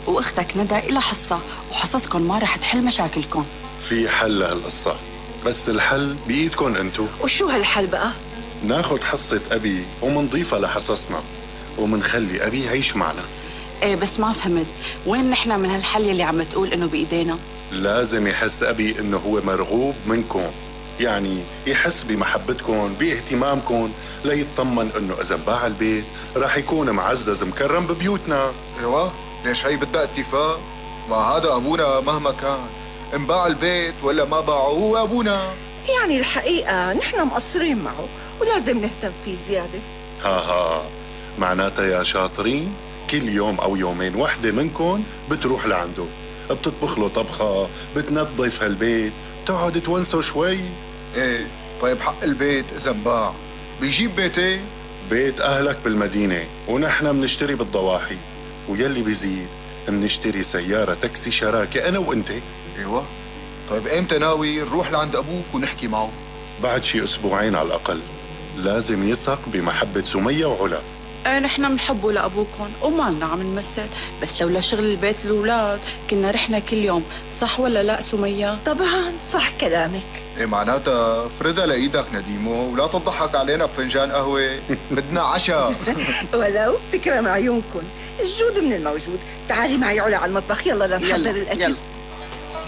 واختك ندى إلها حصة، وحصصكم ما رح تحل مشاكلكم. في حل لهالقصة، بس الحل بإيدكم انتو. وشو هالحل بقى؟ ناخد حصة أبي ومنضيفها لحصصنا، ومنخلي أبي يعيش معنا. ايه بس ما فهمت، وين نحن من هالحل اللي عم تقول انه بإيدينا؟ لازم يحس أبي إنه هو مرغوب منكم، يعني يحس بمحبتكم باهتمامكم، ليطمن إنه إذا انباع البيت راح يكون معزز مكرم ببيوتنا. ايوه، ليش هي بدها اتفاق؟ ما هذا ابونا مهما كان، انباع البيت ولا ما باعه هو ابونا. يعني الحقيقة نحن مقصرين معه ولازم نهتم فيه زيادة. ها معناتها يا شاطرين كل يوم أو يومين وحدة منكم بتروح لعنده، بتطبخ له طبخة، بتنظف هالبيت، تقعد تونسوا شوي. ايه طيب حق البيت اذا انباع بيجيب بيتين؟ بيت أهلك بالمدينة ونحن منشتري بالضواحي، ويلي بيزيد منشتري سيارة تاكسي شراكة أنا وأنت. ايوه طيب ايمتى ناوي نروح لعند ابوك ونحكي معه؟ بعد شي أسبوعين على الأقل. لازم يثق بمحبة سمية وعلا. ايه نحن بنحبه لأبوكم ومالنا عم نمثل، بس لولا شغل البيت الأولاد كنا رحنا كل يوم، صح ولا لا سمية؟ طبعا صح كلامك. ايه معناتها فردها لايدك نديمو ولا تضحك علينا بفنجان قهوة، بدنا عشاء. ولو تكرم عيونكم، الجود من الموجود. تعالي معي علا على المطبخ، يلا لنحضر الأكل. يلا